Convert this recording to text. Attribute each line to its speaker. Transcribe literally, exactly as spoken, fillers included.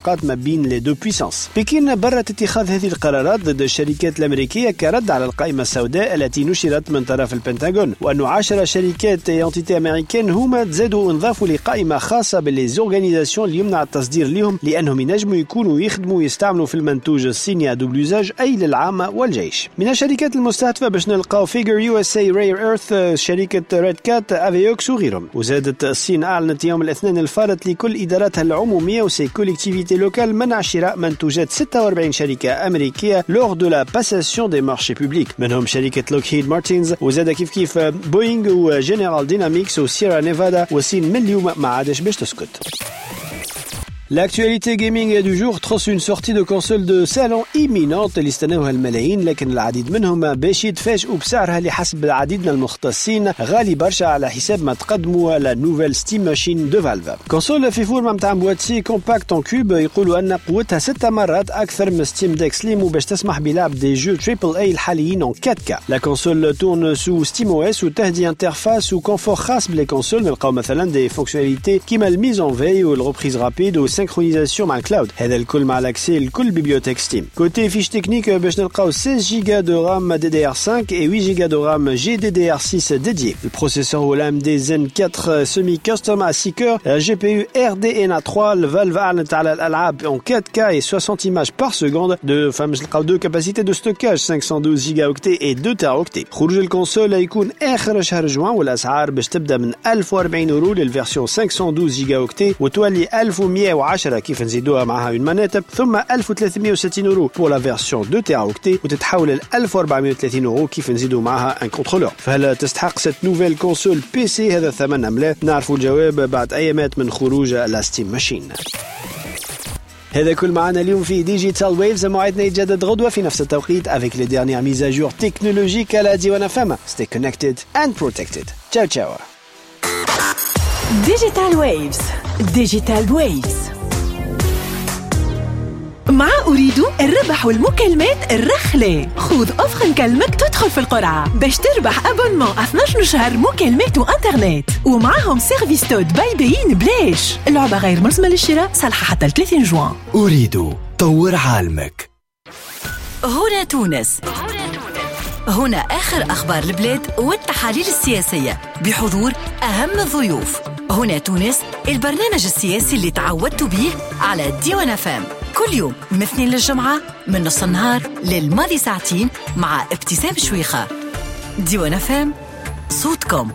Speaker 1: ما بين les deux puissances. بكين بررت اتخاذ هذه القرارات ضد الشركات الأمريكية كرد على القائمة السوداء التي نشرت من طرف البنتاغون، وأن عشر شركات entités américaines هما تزادوا انضافوا لقائمة خاصة ب les organisations اللي يمنع التصدير لهم، لأنهم ينجموا يكونوا يخدموا ويستعملوا في المنتوج الصيني à double usage، أي للعامة والجيش. من الشركات المستهدفة باش نلقاو Figure USA، Rare Earth، شركة Red Cat، Aveox وغيرهم. وزادت الصين أعلنت يوم الاثنين الفارط لكل إداراتها العمومية و ses collectivités locales منع شراء منتوجات ستة وأربعين شركة أمريكية lors de la passation des marchés publics، منهم شركة Lockheed Martin وزاد كيف كيف Boeing و General Dynamics و Sierra Nevada. والصين من اليوم ما عادش باش تسكت. L'actualité gaming du jour تخص une sortie de console de salon imminente اللي استناوها الملايين، لكن العديد منهم باش يتفاجئوا بسعرها اللي حسب العديد من المختصين غالي برشا على حساب ما تقدموا la nouvelle Steam Machine de Valve. Console في forme نتاع boîtier compact en cube، يقولوا ان قوتها ست مرات اكثر من Steam Deck Slim وباش تسمح بلعب des jeux triple A الحاليين en quatre K. La console tourne sous SteamOS وتهدي interface و confort خاص ب les consoles. نلقاو مثلا des fonctionnalités كيما ال mise en veille وال reprise rapide و synchronisation مع ال cloud، هذا الكل مع l'accès لكل bibliothèque Steam. Côté fiche technique باش نلقاو seize giga de RAM D D R cinq et huit giga de RAM G D D R six dédié. ال processeur هو l'A M D Zen quatre semi custom à six cœurs، G P U R D N A trois. ال Valve اعلنت على الالعاب en quatre K et soixante images par seconde. De فما نلقاو deux capacités de stockage، cinq cent douze gigaoctets et deux téraoctets. خروج ال console يكون اخر شهر جوان، والاسعار باش تبدا من ألف وأربعين اورو لل version cinq cent douze gigaoctets وتولي ألف ومية وعشرة كيف نزيدوها معها une manette، ثم ألف وثلاثمية وستين euros pour la version deux téraoctets وتتحول ل ألف وأربعمية وثلاثين اورو كيف نزيدوا معها un contrôleur. فهل تستحق cette nouvelle console P C هذا الثمن ام لا؟ نعرفوا الجواب بعد ايامات من خروج la Steam Machine. هذا كل معنا اليوم في Digital Waves. موعدنا يتجدد غدوة في نفس التوقيت avec les dernières mises à jour technologiques على ديوان F M. Stay connected and protected. Ciao ciao.
Speaker 2: Digital Waves، Digital Waves مع أوريدو، الربح والمكالمات الرخلة. خذ offre نكلمك تدخل في القرعة باش تربح abonnement اثناش شهر مكالمات وانترنت ومعاهم service TOD by beIN بلاش. اللعبة غير ملزمة للشراء، صالحة حتى ثلاثين جوان.
Speaker 3: أوريدو، طور عالمك.
Speaker 4: هنا تونس، هنا آخر أخبار البلاد والتحاليل السياسية بحضور أهم الضيوف. هنا تونس، البرنامج السياسي اللي تعودتوا به على ديوان F M كل يوم من اثنين للجمعة من نص النهار للماضي ساعتين مع ابتسام شويخة. ديوان F M، صوتكم.